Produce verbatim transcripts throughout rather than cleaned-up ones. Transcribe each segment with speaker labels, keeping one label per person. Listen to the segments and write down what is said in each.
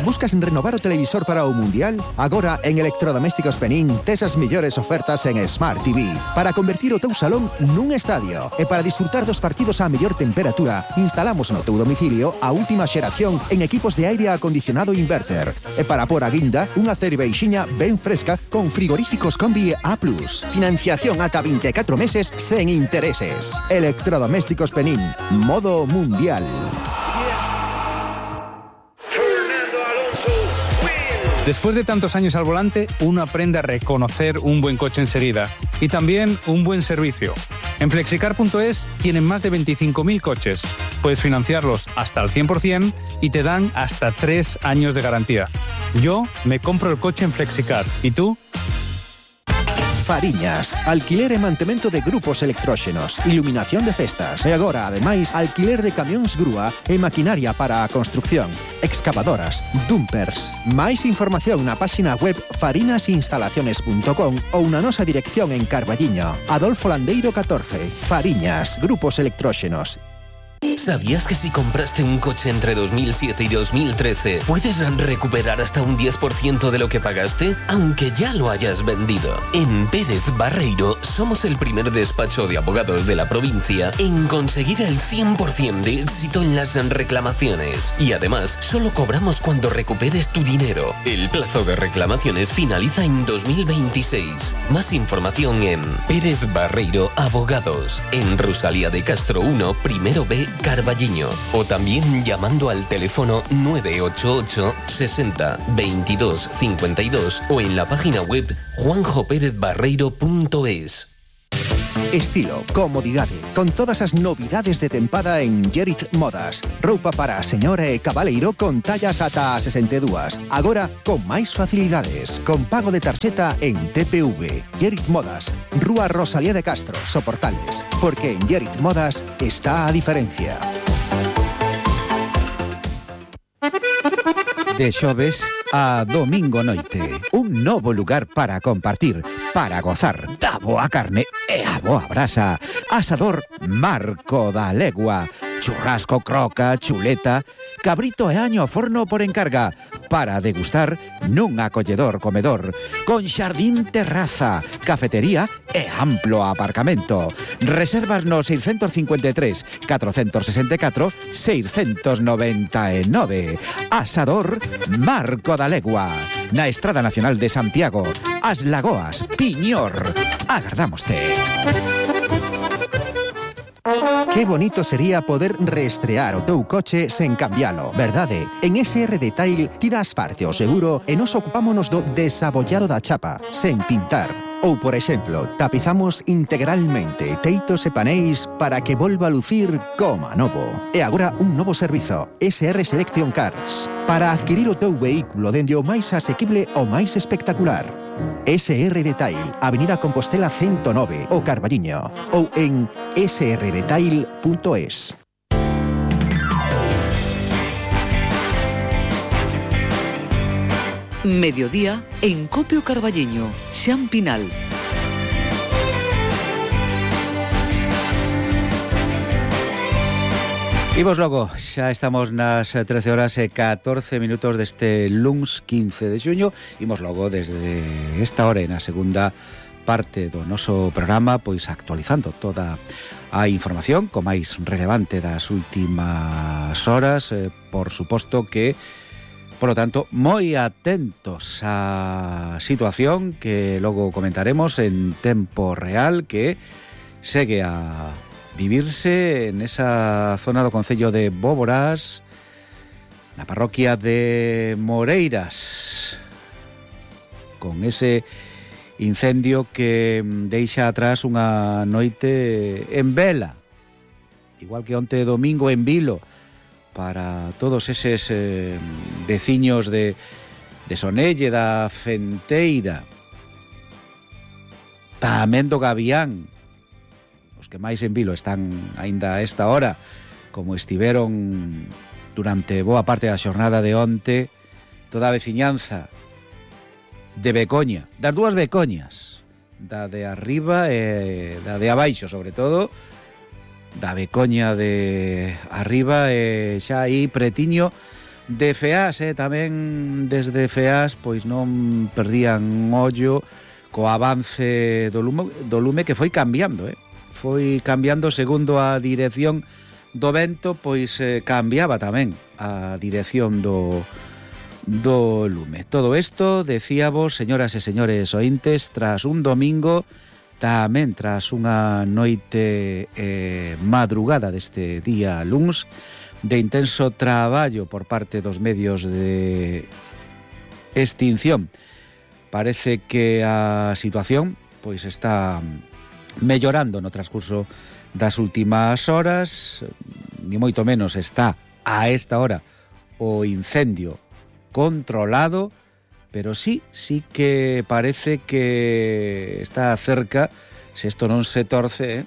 Speaker 1: Buscas renovar o televisor para o Mundial? Agora en Electrodomésticos Penín tes as mellores ofertas en Smart T V para convertir o teu salón nun estadio. E para disfrutar dos partidos á mellor temperatura, instalamos no teu domicilio a última xeración en equipos de aire acondicionado inverter. E para por a guinda, unha cerveixiña ben fresca con frigoríficos Combi A plus. Financiación ata vinte e catro meses sen intereses. Electrodomésticos Penín. Modo Mundial.
Speaker 2: Después de tantos años al volante, uno aprende a reconocer un buen coche enseguida y también un buen servicio. En flexicar punto es tienen más de veinticinco mil coches. Puedes financiarlos hasta el cien por ciento y te dan hasta tres años de garantía. Yo me compro el coche en Flexicar. ¿Y tú?
Speaker 1: Fariñas, alquiler e mantemento de grupos electróxenos, iluminación de festas e agora, ademais, alquiler de camións grúa e maquinaria para a construcción, excavadoras, dumpers. Máis información na páxina web farinas instalaciones punto com ou na nosa dirección en Carballiño, Adolfo Landeiro catorce. Fariñas, grupos electróxenos.
Speaker 3: ¿Sabías que si compraste un coche entre dos mil siete y dos mil trece puedes recuperar hasta un diez por ciento de lo que pagaste, aunque ya lo hayas vendido? En Pérez Barreiro somos el primer despacho de abogados de la provincia en conseguir el cien por ciento de éxito en las reclamaciones. Y además, solo cobramos cuando recuperes tu dinero. El plazo de reclamaciones finaliza en dos mil veintiséis. Más información en Pérez Barreiro Abogados, en Rosalía de Castro uno, primero B, Carballiño, o también llamando al teléfono nueve ocho ocho sesenta veintidós cincuenta y dos o en la página web juanjo pérez barreiro punto es.
Speaker 1: Estilo, comodidade, con todas as novidades de tempada en Gerit Modas. Roupa para a señora e cabaleiro con tallas ata a sesenta e dúas. Agora, con máis facilidades, con pago de tarxeta en T P V. Gerit Modas, Rúa Rosalía de Castro, Soportales. Porque en Gerit Modas está a diferencia.
Speaker 4: De xoves a domingo noite, un novo lugar para compartir, para gozar da boa carne e a boa brasa. Asador Marco da Legua. Churrasco, croca, chuleta, cabrito e año ao forno por encarga, para degustar nun acolledor comedor, con xardín terraza, cafetería e amplo aparcamento. Reservas no seiscentos cincuenta e tres, catrocentos sesenta e catro, seiscentos noventa e nove. Asador Marco da Legua, na Estrada Nacional de Santiago, As Lagoas, Piñor. Agardámoste.
Speaker 1: Que bonito sería poder reestrear o teu coche sen cambialo, verdade? En S R Detail ti das parte ao seguro e nos ocupámonos do desabollado da chapa, sen pintar. Ou, por exemplo, tapizamos integralmente teitos e paneis para que volva a lucir como a novo. E agora un novo servizo, S R Selection Cars, para adquirir o teu vehículo dende o máis asequible ao máis espectacular. S R Detail, Avenida Compostela ciento nove, o Carballiño, ou en s r detail punto es.
Speaker 5: Mediodía en Copio Carballiño, Xan Pinal.
Speaker 4: Imos logo, xa estamos nas trece horas e catorce minutos deste luns quince de xuño. Imos logo desde esta hora e na segunda parte do noso programa, pois actualizando toda a información co máis relevante das últimas horas. Eh, por suposto que, por lo tanto, moi atentos á situación que logo comentaremos en tempo real, que segue a vivirse en esa zona do concello de Bóboras, na parroquia de Moreiras, con ese incendio que deixa atrás unha noite en vela, igual que onte domingo en Vilo, para todos eses eh, veciños de, de Sonelle, da Fenteira, tamén do Gavián. Os que máis en Vilo están aínda a esta hora, como estiveron durante boa parte da xornada de onte, toda a veciñanza de Becoña, das dúas Becoñas, da de arriba e da de abaixo, sobre todo, da Becoña de arriba e xa aí pretiño de FEAS, eh, tamén desde FEAS pois non perdían ollo co avance do lume, do lume que foi cambiando, eh. Foi cambiando segundo a dirección do vento, pois eh, cambiaba tamén a dirección do do lume. Todo isto, decíamos, señoras e señores ointes, tras un domingo, tamén tras unha noite eh, madrugada deste día luns, de intenso traballo por parte dos medios de extinción. Parece que a situación pois está mellorando no transcurso das últimas horas, ni moito menos está a esta hora o incendio controlado, pero sí, sí que parece que está cerca, se isto non se torce, eh?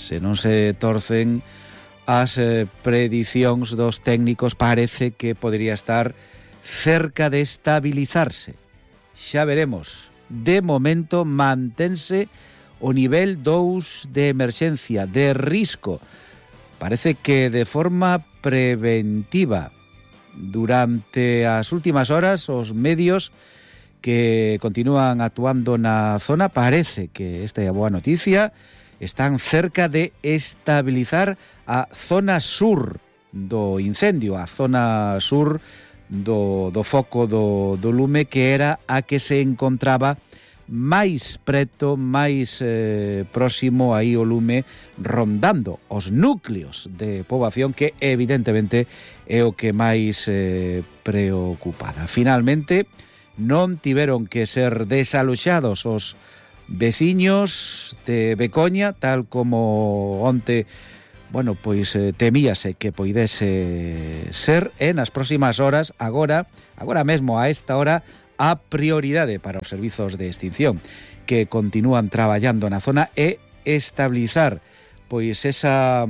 Speaker 4: se non se torcen as eh, predicións dos técnicos, parece que podría estar cerca de estabilizarse. Xa veremos. De momento mantense o nivel dous de emerxencia, de risco. Parece que de forma preventiva. Durante as últimas horas, os medios que continúan actuando na zona, parece que esta é a boa noticia, están cerca de estabilizar a zona sur do incendio, a zona sur do, do foco do, do lume, que era a que se encontraba máis preto, máis eh, próximo aí o lume, rondando os núcleos de poboación, que evidentemente é o que máis eh, preocupada. Finalmente, non tiveron que ser desaloxados os veciños de Becoña, tal como onte, bueno, pois eh, temíase que poidese ser, e nas próximas horas, agora, agora mesmo a esta hora, a prioridade para os servizos de extinción que continúan traballando na zona é estabilizar pois esa,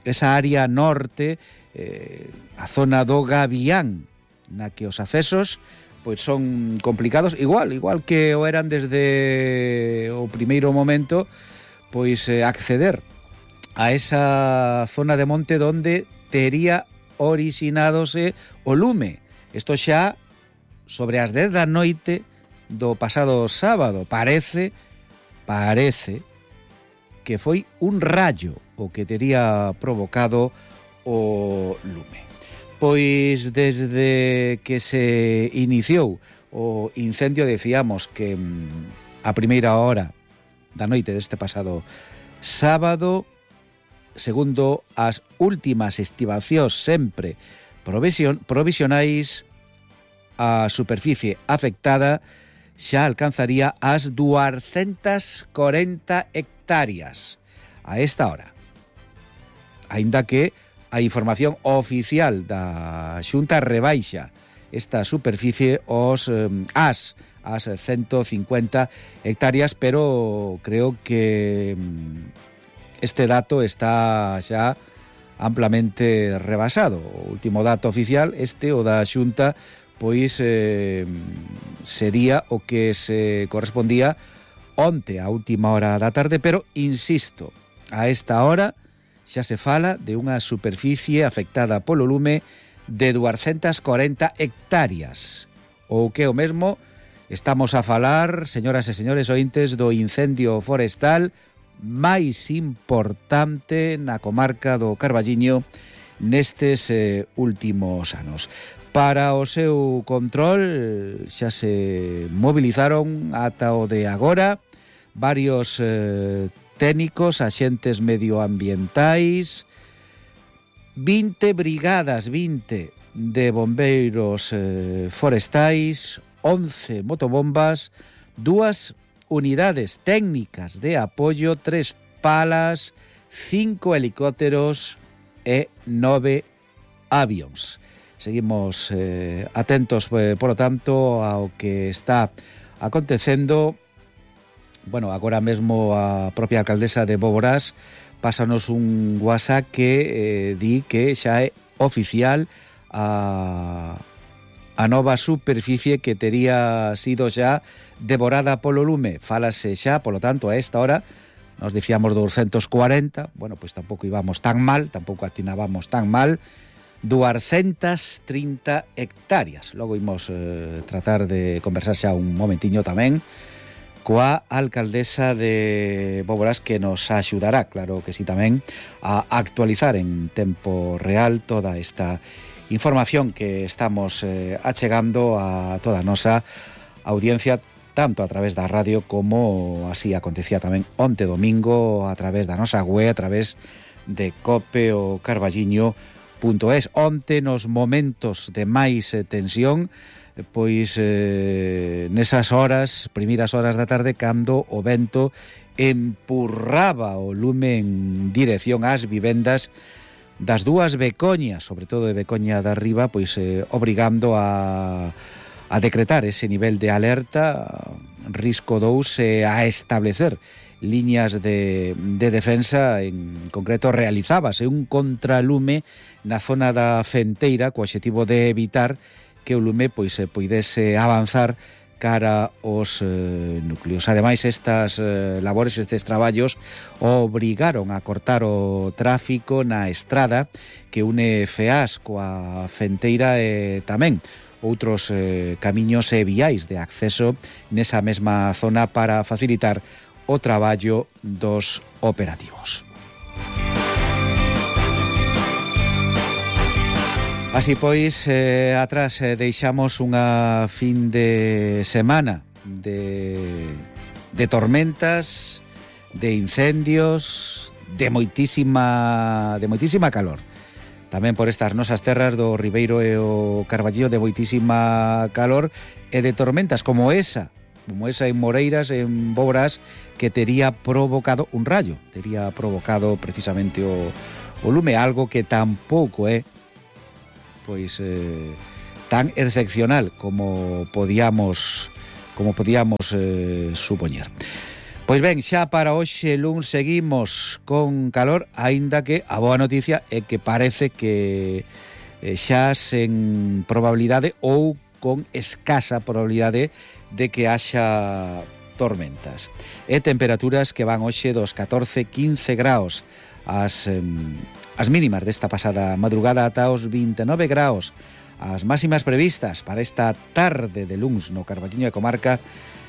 Speaker 4: esa área norte, eh, a zona do Gavián, na que os accesos pois son complicados, igual, igual que o eran desde o primeiro momento, pois eh, acceder a esa zona de monte donde tería originadose o lume. Isto xa sobre as dez da noite do pasado sábado. Parece, parece que foi un rayo o que tería provocado o lume. Pois desde que se iniciou o incendio, decíamos que a primeira hora da noite deste pasado sábado, segundo as últimas estimacións sempre provision, provisionais, a superficie afectada xa alcanzaría as duascentas corenta hectáreas a esta hora. Aínda que a información oficial da Xunta rebaixa esta superficie os eh, as as ciento cincuenta hectáreas, pero creo que este dato está xa amplamente rebasado. O último dato oficial, este o da Xunta, pois eh, sería o que se correspondía onte a última hora da tarde, pero insisto, a esta hora xa se fala de unha superficie afectada polo lume de duascentas corenta hectáreas. Ou que o mesmo, estamos a falar, señoras e señores ointes, do incendio forestal máis importante na comarca do Carballiño nestes eh, últimos anos. Para o seu control xa se movilizaron ata o de agora varios eh, técnicos, axentes medioambientais, vinte brigadas, vinte de bombeiros eh, forestais, once motobombas, dúas unidades técnicas de apoio, tres palas, cinco helicópteros e nove avións. Seguimos eh, atentos, eh, por lo tanto, ao que está acontecendo. Bueno, agora mesmo a propia alcaldesa de Boborás pásanos un WhatsApp que eh, di que xa é oficial a, a nova superficie que tería sido xa devorada polo lume. Fálase xa, polo tanto, a esta hora, nos dicíamos doscientos cuarenta, bueno, pois pues tampouco íbamos tan mal, tampouco atinábamos tan mal, doscientas trinta hectáreas. Logo imos eh, tratar de conversar xa un momentiño tamén coa alcaldesa de Boborás, que nos axudará, claro que sí, tamén a actualizar en tempo real toda esta información que estamos eh, achegando a toda a nosa audiencia, tanto a través da radio como así acontecía tamén onte domingo a través da nosa web, a través de cope o carballiño punto es. Onte, nos momentos de máis eh, tensión, pois eh, nesas horas, primeiras horas da tarde, cando o vento empurraba o lume en dirección ás vivendas das dúas Becoñas, sobre todo de Becoña de Arriba, pois eh, obrigando a, a decretar ese nivel de alerta, risco dous, e a establecer liñas de, de defensa. En concreto, realizábase un contralume na zona da Fenteira co obxectivo de evitar que o lume pois se poidese avanzar cara aos eh, núcleos. Ademais, estas eh, labores, estes traballos obrigaron a cortar o tráfico na estrada que une Feás coa Fenteira e tamén outros eh, camiños e viais de acceso nesa mesma zona para facilitar o traballo dos operativos. Así pois, eh, atrás eh, deixamos unha fin de semana de, de tormentas, de incendios, de moitísima, de moitísima calor. Tamén por estas nosas terras do Ribeiro e o Carballiño, de moitísima calor e de tormentas como esa, como esa en Moreiras, en Boborás, que tería provocado un rayo, tería provocado precisamente o, o lume, algo que tampouco é pois eh, tan excepcional como podíamos como podíamos eh, supoñer. Pois ben, xa para hoxe luns seguimos con calor, aínda que a boa noticia é que parece que eh, xa sen probabilidade ou con escasa probabilidade de que haxa tormentas. E temperaturas que van hoxe dos catorce a quince graus, as, eh, as mínimas desta pasada madrugada ata os vinte e nove graus, as máximas previstas para esta tarde de luns no Carballiño e comarca,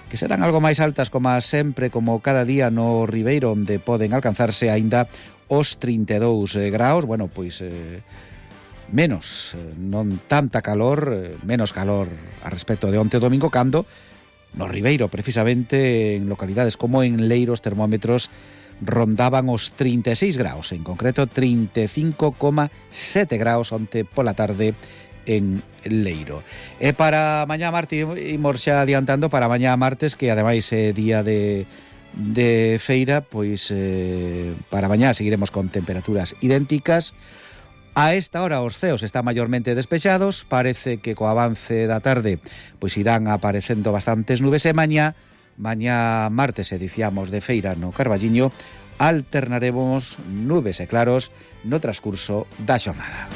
Speaker 4: que serán algo máis altas como sempre, como cada día no Ribeiro, onde poden alcanzarse aínda os trinta e dous graus. Bueno, pois eh, menos, non tanta calor, eh, menos calor a respecto de onte domingo, cando no Ribeiro, precisamente en localidades como en Leiro, os termómetros rondaban os trinta e seis graus, en concreto trinta e cinco coma sete graus onte pola tarde en Leiro. E para mañá martes, imos xa adiantando para mañá martes, que ademais é día de, de feira, pois eh, para mañá seguiremos con temperaturas idénticas. A esta hora os ceos están maiormente despexados, parece que co avance da tarde pois irán aparecendo bastantes nubes, e mañá Mañá martes, e dicíamos de feira no Carballiño, alternaremos nubes e claros no transcurso da xornada.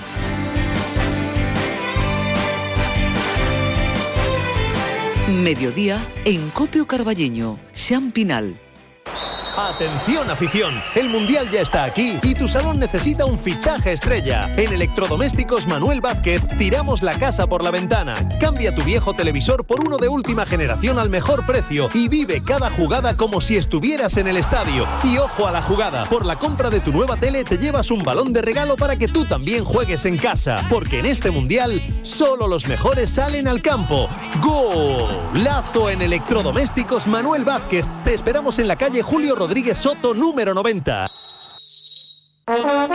Speaker 5: Mediodía en Copio Carballiño, Xan Pinal.
Speaker 6: Atención afición, el Mundial ya está aquí y tu salón necesita un fichaje estrella. En Electrodomésticos Manuel Vázquez tiramos la casa por la ventana. Cambia tu viejo televisor por uno de última generación al mejor precio y vive cada jugada como si estuvieras en el estadio. Y ojo a la jugada, por la compra de tu nueva tele te llevas un balón de regalo para que tú también juegues en casa. Porque en este Mundial solo los mejores salen al campo. ¡Golazo en Electrodomésticos Manuel Vázquez! Te esperamos en la calle Julio Rodríguez Soto, número noventa.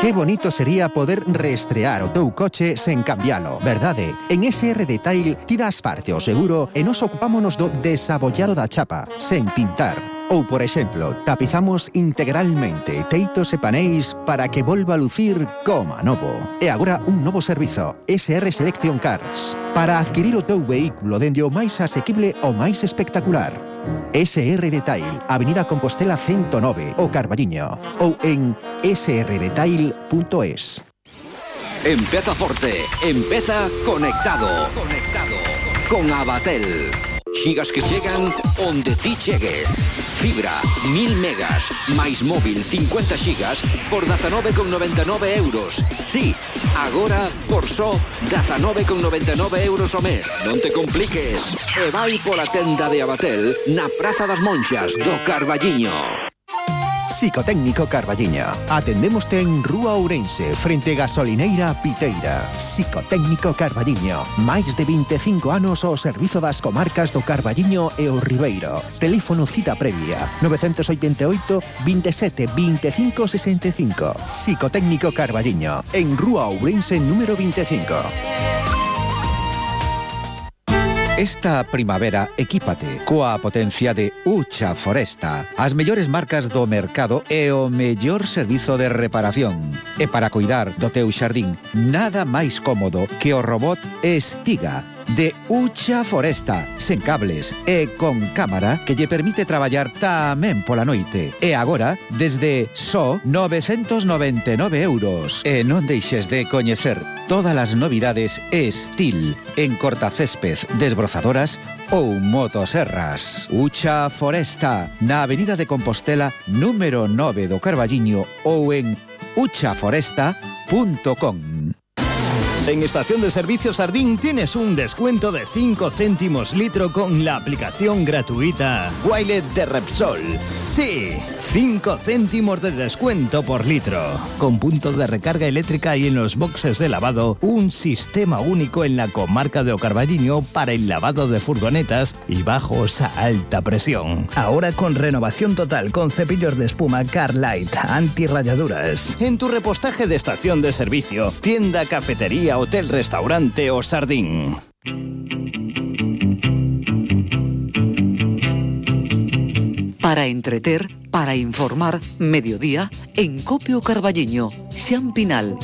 Speaker 1: Qué bonito sería poder reestrear o teu coche sen cambialo, verdade? En S R Detail ti das parte o seguro e nos ocupámonos do desabollado da chapa, sen pintar. Ou, por exemplo, tapizamos integralmente teitos e paneis para que volva a lucir como a novo. E agora un novo servizo, S R Selection Cars, para adquirir o teu vehículo dende o máis asequible ao máis espectacular. S R Detail, Avenida Compostela ciento nove, o Carballiño, ou en s r detail punto es.
Speaker 7: Empeza forte, empeza conectado. Conectado con Abatel. Xigas que chegan onde ti chegues. Fibra, mil megas, máis móvil cincuenta xigas por dezanove con noventa e nove euros. Sí, agora por só dezanove con noventa e nove euros ao mes. Non te compliques. E vai pola tenda de Abatel na Praza das Monxas do Carballiño.
Speaker 1: Psicotécnico Carballiño. Atendémoste en Rúa Ourense, frente Gasolineira Piteira. Psicotécnico Carballiño. Máis de vinte e cinco anos ao servizo das comarcas do Carballiño e o Ribeiro. Teléfono cita previa nove oito oito, veintisiete, veinticinco sesenta e cinco. Psicotécnico Carballiño. En Rúa Ourense número veinticinco.
Speaker 4: Esta primavera equípate coa potencia de Ucha Foresta, as mellores marcas do mercado e o mellor servizo de reparación. E para cuidar do teu xardín, nada máis cómodo que o robot Estiga de Ucha Foresta, sen cables e con cámara que lle permite traballar tamén pola noite. E agora, desde só novecentos noventa e nove euros. E non deixes de coñecer todas as novidades Estil en cortacésped, desbrozadoras ou motoserras. Ucha Foresta, na Avenida de Compostela, número nove do Carballiño ou en ucha foresta punto com.
Speaker 8: En Estación de Servicio Sardín tienes un descuento de cinco céntimos litro con la aplicación gratuita Wilet de Repsol. Sí, cinco céntimos de descuento por litro. Con puntos de recarga eléctrica y en los boxes de lavado, un sistema único en la comarca de O Carballiño para el lavado de furgonetas y bajos a alta presión. Ahora con renovación total con cepillos de espuma Carlight, antirrayaduras. En tu repostaje de estación de servicio, tienda, cafetería, hotel, restaurante o Sardín.
Speaker 5: Para entreter, para informar, mediodía, en Copio Carballiño, Xan Pinal.